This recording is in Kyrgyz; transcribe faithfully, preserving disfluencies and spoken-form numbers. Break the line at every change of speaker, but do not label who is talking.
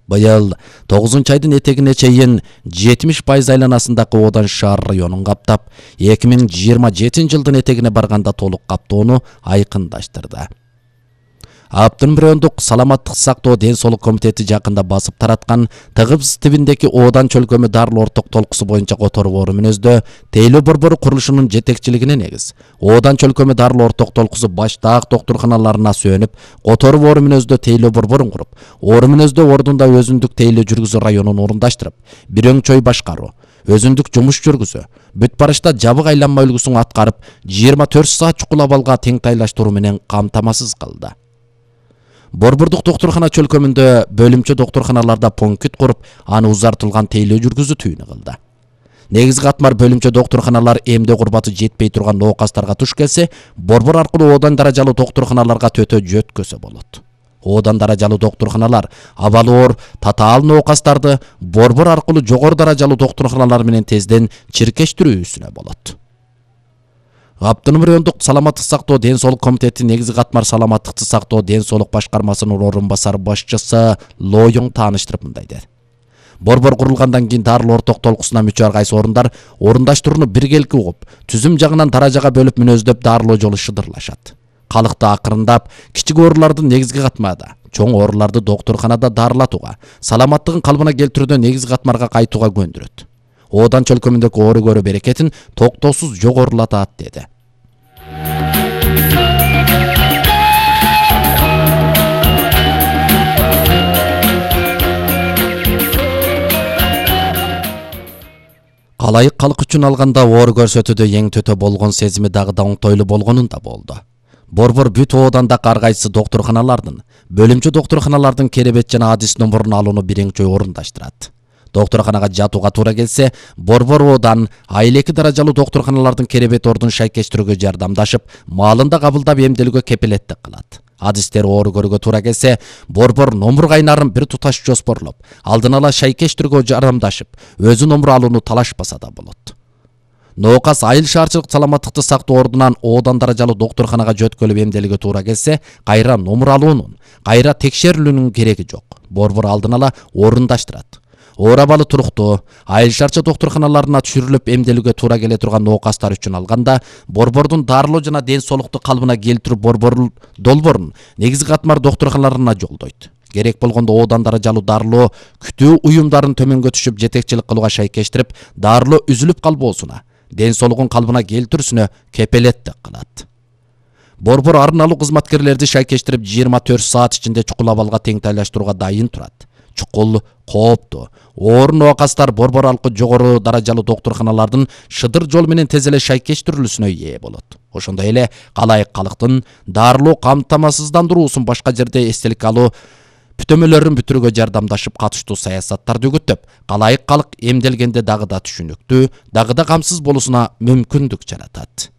Быйыл тогузунчу айдын этегине чейин жетимиш пайыз айланасындагы Одан шаар районун каптап, эки миң жыйырма жетинчи жылдын этегине барганда толук каптоону айкындаштырды. Автономдук райондук саламаттык сактоо ден соолук комитети жакында басып тараткан Тыгыз тибиндеги Одан чөлкөмү дарылоо орток толкусу боюнча Котор бору мүнөздө тейлөө борбору курулушунун жетекчилигине негиз Одан чөлкөмү дарылоо орток толкусу баш таак доктурканаларына сөнүп, Котор бору мүнөздө тейлөө борборун куруп, ору мүнөздө ордунда өзүндүк тейлөө жүргүзүү районун орундаштырып, бирөң чөй башкаруу, өзүндүк жумуш жүргүзүү, бүт барышта жабык айланма үлгүсүн аткарып, жыйырма төрт саат чукул абалга теңтайлаштыруу менен камтамасыз кылды. Борбордук доктуркана чөлкөмүндө бөлүмчө доктурканаларда пункт куруп, аны узартылган тейлөө жүргүзүү түйүнү кылды. Негизги катмар бөлүмчө доктурканалар эмдөө курбаты жетпей турган ноокастарга туш келсе, борбор аркылуу Одан даражалуу доктурканаларга төтө жөткөсө болот. Одан даражалуу доктурканалар абалы оор татаал ноокастарды борбор аркылуу жогору даражалуу доктурканалар менен тезден чиркештирүүсүнө болот. Автономдук райондук саламаттык сактоо ден соолук комитети негизги катмар саламаттыкты сактоо ден соолук башкармасынын орун басар башчысы Лоюң тааныштырып мындай деди. Борбор курулгандан кийин дарылоо орток толкусуна мүчө ар кайсы орундар орундаштырууну биргеликке угуп, түзүм жагынан даражага бөлүп мүнөздөп дарылоо жолу шыдырлашат. Калыкты акырындап, кичик ооруларды негизги катмада, чоң ооруларды доктурканада дарылатууга, саламаттыгын калыбына келтирүүдө негизги катмарга кайтууга көндүрөт. Одан чөлкөмүндөгү оору көрүү берекетин токтоосуз жогорулатат деди. Калайык калк үчүн алганда оору көрсөтүүдө эң төтө болгон сезими дагы да оңтойлуу болгонун да болду. Борбор бүт Одандагы ар кайсы доктурканалардын, бөлүмчө доктурканалардын керебет жана адис номурун алууну бирөң чөй орундаштырат. Доктурканага жатууга туура келсе, борбор Одан айыл эки даражалуу доктурканалардын керебет ордун шайкештирүүгө жардамдашып, маалында кабылдап эмделүүгө кепилеттик кылат. Адистер оору көрүүгө туура келсе, борбор номур кайнарын бир туташ жоспорлоп, алдын ала шайкештирүүгө жардамдашып, өзү номур алууну талашпаса да болот. Ноокас айыл шаарчылык саламаттыкты сактоо ордунан Одан даражалуу доктурканага жөткөлүп эмделүүгө туура келсе, кайра номур алуунун, кайра текшерилүүнүн кереги жок. Борбор алдын ала орундаштырат. Оор абалы туруктуу, айыл шаарчы доктурканаларына түшүрүлүп эмделүүгө туура келе турган ноокастар үчүн алганда, борбордун дарылоо жана ден соолукту калыбына келтирүү борбор долбоорун негизги катмар доктурканаларына жолдойт. Керек болгондо Одан даражалуу дарылоо күтүү уюмдарын төмөнгө түшүп жетекчилик кылууга шайкештирип, дарылоо үзүлүп калбоосуна, ден соолугун калыбына келтирүүсүнө кепилеттик кылат. Борбор арналуу кызматкерлерди шайкештирип жыйырма төрт саат ичинде чукул абалга теңтайлаштырууга дайын турат. Чукул, кооптуу, оор ноокастар борбор аркылуу жогору даражалуу доктурканалардын шыдыр жол менен тез эле шайкештирилүүсүнө ээ болот. Ошондой эле калайык калктын дарылоо камтамасыздандыруусун башка жерде эстелик алуу бүтөмөлөрүн бүтүрүүгө жардамдашып, катыштуу саясаттарды үгүттөп, калайык калк эмделгенде дагы да түшүнүктүү, дагы да камсыз болуусуна мүмкүндүк жаратат.